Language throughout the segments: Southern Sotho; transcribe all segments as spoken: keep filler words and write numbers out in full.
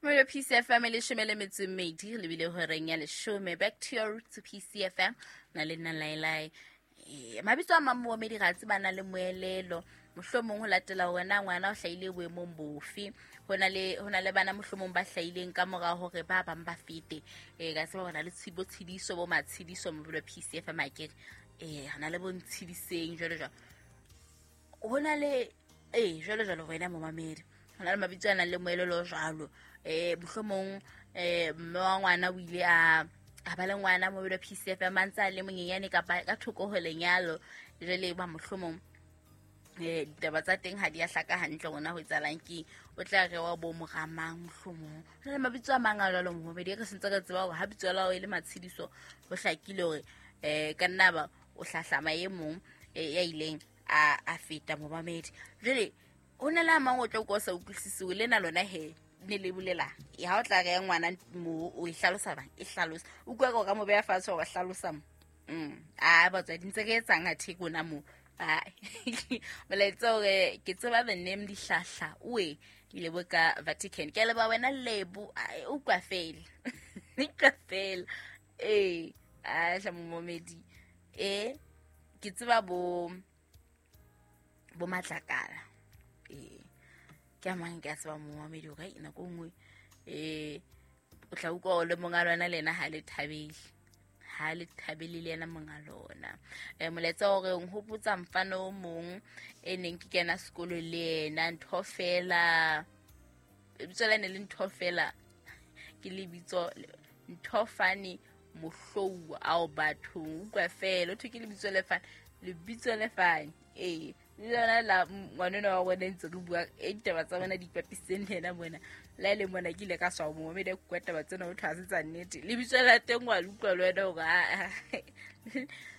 Molo P C F M leshome le metso e mmedi re lebile horeng ya leshome. Back to your roots P C F M na le nna Lailai. Eh mabitso a mang momedi ga tse bana le moelelo. Mohlomong ho latela hore na ngwana o hlahile boemong bofe. Hona le hona le bana mohlomong ba hlahileng ka mora hore ba bang ba fete. Eh ka tseba hona le tshibo tshidiso bo matshidiso mobilo P C F M akere. Eh hona le bo ntshidiseng jwalo jwalo. Hona le eh jwalo jwalo wena momamedi. Hona le mabitso a nang le moelelo jwalo. Eh mohlomong eh mme wa ngwana o ile a a ba le ngwana mobilo P C F M a ntse a le monyenyane kapa ka thoko ho lenyalo. Jwale ba mohlomong eh ditaba tsa teng ha di a hlaka hantle rona ho etsahalang ke o tla re wa bo moramang mohlomong. Hona le mabitso a mang a jwalo momamedi re sentse re tseba hore ha bitso la hao e le Matshidiso ho hlakile hore eh ka nna ba o hlahlama e mong ya ileng a a feta momamedi. Jwale ho na le a mang o tla utlwa o sa utlwisise lena lona he ne le bolela e ha o tla re ngwana mo o e hlalosa bang e hlalosa o utlwa ka ka mo beha fatshe wa hlalosa mo. Mm a batswadi ntse re etsang a theko na mo. A molaetsa hore ke tseba the name Dihlahla oe ile bo ka Vatican ke le ba wena Lebo o utlwa fela utlwa fela eh a hla momedi eh ke tseba bo bo Matlakala eh ke a mang ke a tseba momamedi hore nako nngwe eh o tla utlwa le monga lona le yena ha le thabele ha le thabele le yena monga lona. Eh molaetsa hore o nhopotsa mfana o mong e neng ke kena sekolo le yena ntho fela lebitso la ne le ntho fela ke lebitso ntho fane Mohlouwa ao bathong utlwa fela o thwe ke lebitso le fane lebitso le fane eh le lona la ngwaneno wa rona ntse re bua e ditaba tsa bona di ipapisitseng le yena mona la le mona ke ile ka swa momamedi a kua taba tsena ho thwe ha se tsa nnete lebitso la teng wa le utlwa le wena hore a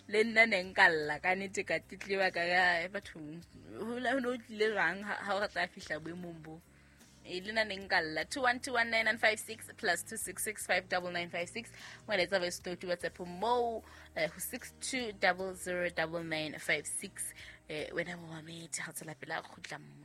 le nna ne nka lla ka nnete ka tletleba ka ya bathong ho ne ho tlile jwang ha o re tla fihla boemong bo e le nna ne nka lla. Two one two one nine nine five six plus two six six five double nine five six molaetsa voice note WhatsApp mo ho six two double zero double nine five six eh wena momamedi ha tsela pela kgutla mo.